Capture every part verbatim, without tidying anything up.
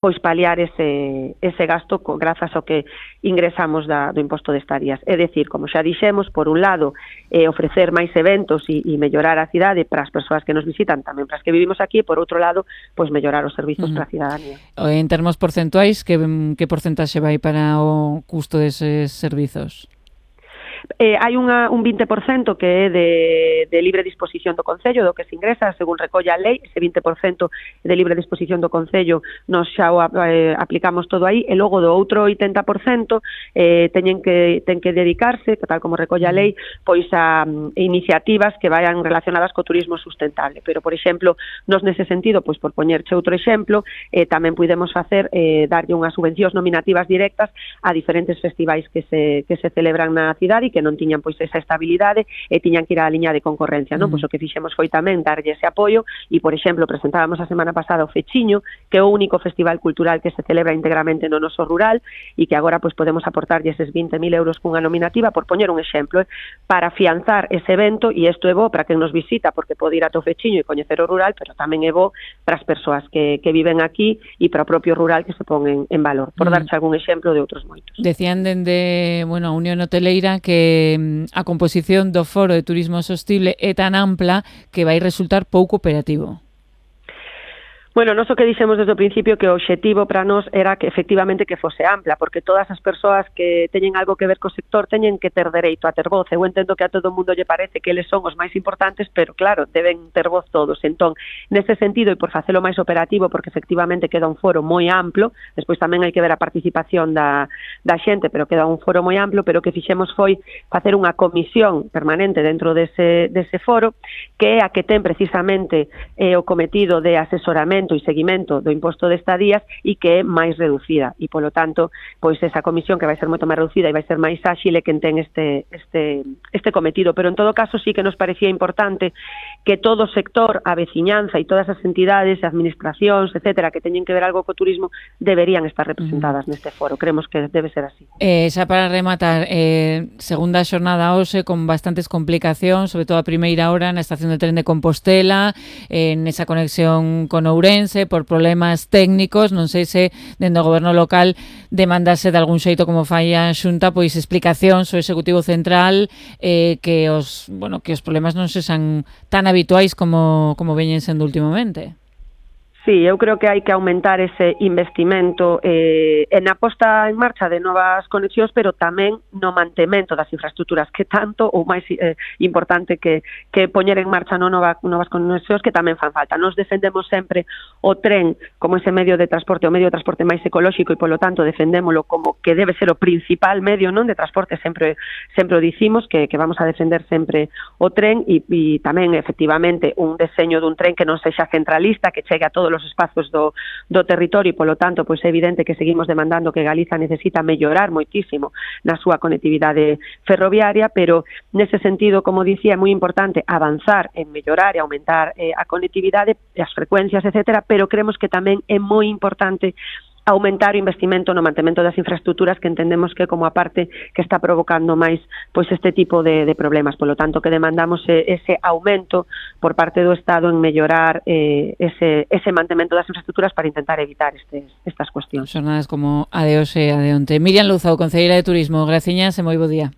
pois paliar ese, ese gasto co, grazas ao que ingresamos da, do imposto de estadías. É dicir, como xa dixemos, por un lado, eh, ofrecer máis eventos e, e mellorar a cidade para as persoas que nos visitan, tamén para as que vivimos aquí, e por outro lado, pois mellorar os servizos uh-huh. para a cidadanía. En termos porcentuais, que, que porcentaxe vai para o custo deses servizos? Eh, hai unha, un vinte por cento que é de, de libre disposición do Concello, do que se ingresa, según recolle a lei, ese vinte por cento de libre disposición do Concello nos xa o eh, aplicamos todo aí, e logo do outro oitenta por cento eh, teñen que, ten que dedicarse, tal como recolle a lei, pois a um, iniciativas que vayan relacionadas co turismo sustentable. Pero, por exemplo, nos nese sentido, pois por poñerche outro exemplo, eh, tamén podemos facer, eh, darlle unhas subvencións nominativas directas a diferentes festivais que se, que se celebran na cidade e que non tiñan pois esa estabilidade e tiñan que ir á liña de concorrencia, non? Mm. Pois o que fixemos foi tamén darlle ese apoio e, por exemplo, presentábamos a semana pasada o Fechiño, que é o único festival cultural que se celebra íntegramente no noso rural e que agora pois podemos aportarlle eses vinte mil euros cunha nominativa, por poñer un exemplo, eh, para afianzar ese evento, e isto é bo para quen nos visita porque pode ir ata o Fechiño e coñecer o rural, pero tamén é bo para as persoas que, que viven aquí e para o propio rural que se pon en, en valor, por mm. darche algún exemplo de outros moitos. Decían dende, bueno, a Unión Hoteleira que a composición do Foro de Turismo Sostible é tan ampla que vai resultar pouco operativo. Bueno, nós o que dixemos desde o principio que o obxectivo para nós era que efectivamente que fose ampla, porque todas as persoas que teñen algo que ver co sector teñen que ter dereito a ter voz. Eu entendo que a todo o mundo lle parece que eles son os máis importantes, pero claro, deben ter voz todos. Entón, nese sentido, e por facelo máis operativo, porque efectivamente queda un foro moi amplo, despois tamén hai que ver a participación da, da xente, pero queda un foro moi amplo, pero o que fixemos foi facer unha comisión permanente dentro dese, dese foro, que é a que ten precisamente eh, o cometido de asesoramento e seguimento do imposto de estadías e que é máis reducida e, polo tanto, pois esa comisión que vai ser moito máis reducida e vai ser máis áxil e quen ten este, este, este cometido. Pero, en todo caso, sí que nos parecía importante que todo o sector, a veciñanza e todas as entidades, administracións, etcétera, que teñen que ver algo co turismo, deberían estar representadas mm. neste foro. Creemos que debe ser así. Eh, xa para rematar, eh, segunda xornada hoxe con bastantes complicacións, sobre todo a primeira hora na estación de tren de Compostela, eh, nesa conexión con Ourense, por problemas técnicos, non sei se dende o goberno local demandase de algún xeito como fai a Xunta, pois explicacións ao Executivo Central eh, que os, bueno, que os problemas non sexan tan habituais como, como veñen sendo últimamente. Sí, eu creo que hai que aumentar ese investimento eh, en a posta en marcha de novas conexións, pero tamén no mantemento das infraestructuras, que tanto ou máis eh, importante que, que poñer en marcha no nova, novas conexións que tamén fan falta. Nos defendemos sempre o tren como ese medio de transporte, o medio de transporte máis ecolóxico e, polo tanto, defendémolo como que debe ser o principal medio non de transporte, sempre sempre o dicimos, que, que vamos a defender sempre o tren e, e tamén, efectivamente, un deseño dun tren que non sexa centralista, que chegue a todos os espazos do, do territorio e, polo tanto, pois é evidente que seguimos demandando que Galiza necesita mellorar moitísimo na súa conectividade ferroviaria, pero nese sentido, como dicía, é moi importante avanzar en mellorar e aumentar eh, a conectividade, as frecuencias, etcétera, pero creemos que tamén é moi importante aumentar o investimento no mantemento das infraestructuras, que entendemos que como a parte que está provocando máis pois este tipo de, de problemas. Polo tanto, que demandamos ese aumento por parte do Estado en mellorar eh, ese, ese mantemento das infraestructuras para intentar evitar estes, estas cuestións. Xornadas como a de hoxe e a de onte. Miriam Louzao, concelleira de Turismo, graciñas e moi bo día.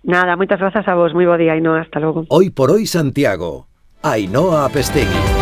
Nada, moitas grazas a vos, moi bo día, Ainhoa, hasta logo. Hoy por hoy Santiago, Ainhoa Apestegui.